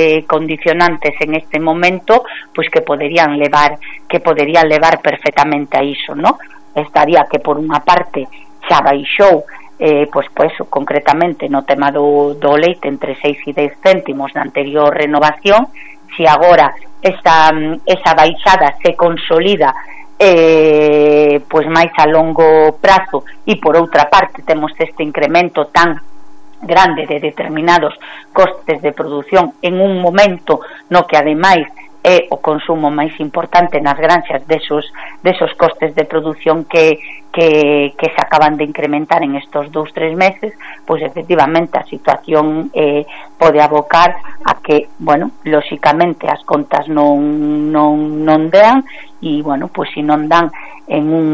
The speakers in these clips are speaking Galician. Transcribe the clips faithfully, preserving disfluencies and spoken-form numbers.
eh, condicionantes en este momento, pois que poderían levar que poderían levar perfectamente a iso, ¿no? Estaría que por unha parte xa baixou eh, pois, pois, concretamente no tema do, do leite entre seis e dez céntimos na anterior renovación. Si agora esa, esa baixada se consolida eh, pois máis a longo prazo, e por outra parte temos este incremento tan grande de determinados costes de produción en un momento no que ademais é o consumo máis importante nas granxas desos, desos costes de produción que, que, que se acaban de incrementar en estos dous, tres meses, pois efectivamente a situación eh, pode abocar a que, bueno, lóxicamente as contas non, non, non dean, e, bueno, pois se non dan en un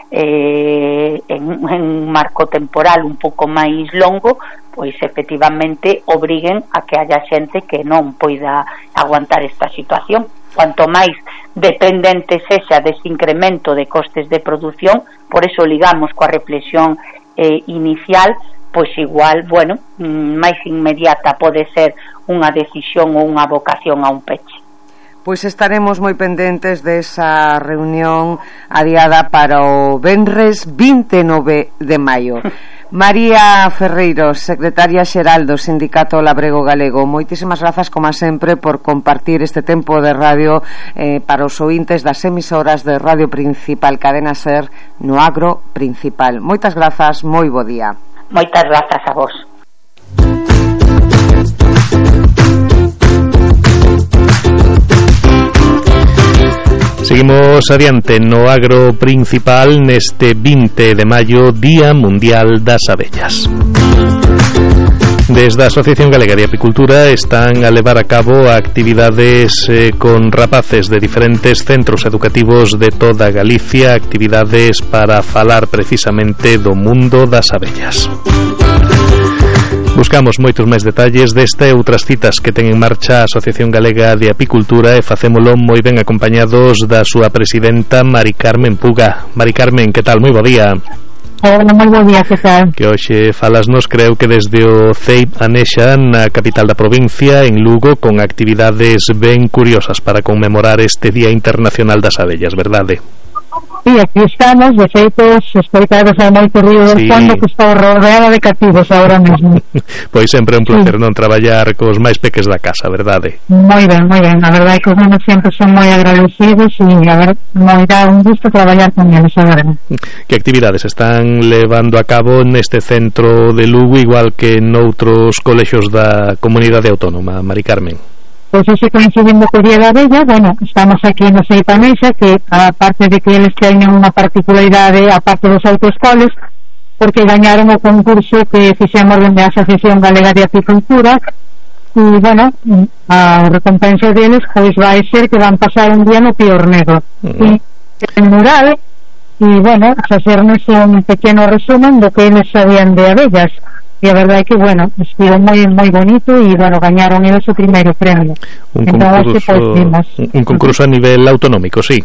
eh, en, en un marco temporal un pouco máis longo, pois efectivamente obriguen a que haya xente que non poida aguantar esta situación. Cuanto máis dependente sexa dese incremento de costes de produción, por eso ligamos coa reflexión eh, inicial, pois igual, bueno, máis inmediata pode ser unha decisión ou unha vocación a un peche. Pois estaremos moi pendentes desa reunión adiada para o venres vinte e nove de maio. María Ferreiros, secretaria xeral do Sindicato Labrego Galego, moitísimas grazas como sempre por compartir este tempo de radio eh, para os ointes das emisoras de Radio Principal Cadena Ser no Agro Principal. Moitas grazas, moi bo día. Moitas grazas a vos. Seguimos adiante no Agro Principal neste vinte de maio, Día Mundial das Abellas. Desde a Asociación Galega de Apicultura están a levar a cabo actividades eh, con rapaces de diferentes centros educativos de toda Galicia, actividades para falar precisamente do mundo das abellas. Buscamos moitos máis detalles desta e outras citas que ten en marcha a Asociación Galega de Apicultura, e facémolo moi ben acompañados da súa presidenta Mari Carmen Puga. Mari Carmen, que tal? Moi bo día. Hola, moi bo día, que tal? Que hoxe falasnos, creo que desde o C E I Anexa, na capital da provincia, en Lugo, con actividades ben curiosas para conmemorar este Día Internacional das Abellas, verdade? Sí, aquí estamos, de feito, escoitados a moito río do sí. fondo, que está rodeada de cativos ahora mesmo. Pois sempre é un placer, sí. non traballar cos máis peques da casa, verdade? Moi ben, moi ben, a verdade é que os nenos sempre son moi agradecidos, e a ver, moi dá un gusto traballar con eles, a ver. Que actividades están levando a cabo neste centro de Lugo, igual que noutros colexios da comunidade autónoma, Mari Carmen? Pois ese coincidindo co Día da Abella, bueno, estamos aquí no C E I Anexa, que aparte de que eles teñen unha particularidade aparte dos outros coles, porque gañaron o concurso que fixemos dende a Asociación Galega de Apicultura, e, bueno, a recompensa deles pois vai ser que van pasar un día no Pior Negro. Uh-huh. E en mural, e, bueno, facernos un pequeno resumen do que eles sabían de abellas. E a verdade é que, bueno, estivo moi moi bonito, e, bueno, gañaron eles o primeiro premio. Un concurso, un, un concurso a nivel autonómico, sí.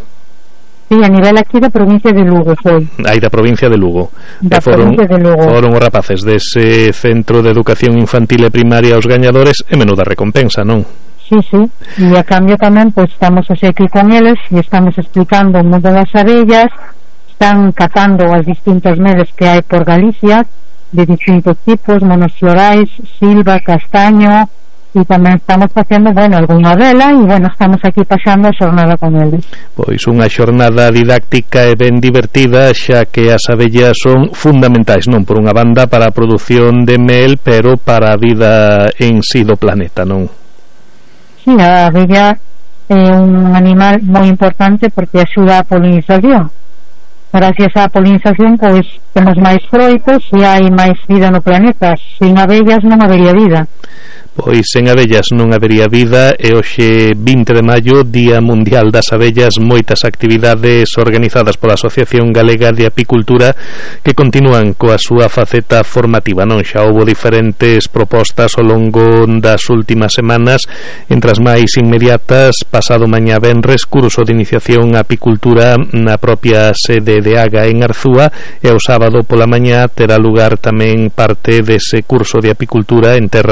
Sí, a nivel aquí da provincia de Lugo foi. Aí da provincia de Lugo. Da foron, provincia de Lugo. Foron os rapaces dese centro de educación infantil e primaria os gañadores, e menuda recompensa, non? Sí, sí, e a cambio tamén, pois, estamos así aquí con eles, e estamos explicando o mundo das abellas, están catando as distintas medes que hai por Galicia, de distintos tipos, monoflorais, silva, castaño, e tamén estamos facendo, bueno, algunha vela, e, bueno, estamos aquí pasando a xornada con eles. Pois unha xornada didáctica e ben divertida, xa que as abellas son fundamentais, non por unha banda para a produción de mel, pero para a vida en si do planeta, non? Sí, a abella é un animal moi importante porque axuda a polinización. Gracias á polinización, pois, temos máis froitos e hai máis vida no planeta. Sin abellas non habería vida. Pois sen abellas non habería vida, e hoxe vinte de maio, Día Mundial das Abellas, moitas actividades organizadas pola Asociación Galega de Apicultura que continúan coa súa faceta formativa, non? Xa houbo diferentes propostas ao longo das últimas semanas, entre as máis inmediatas, pasado mañá venres, curso de iniciación a apicultura na propia sede de Aga en Arzúa, e o sábado pola mañá terá lugar tamén parte dese curso de apicultura en terras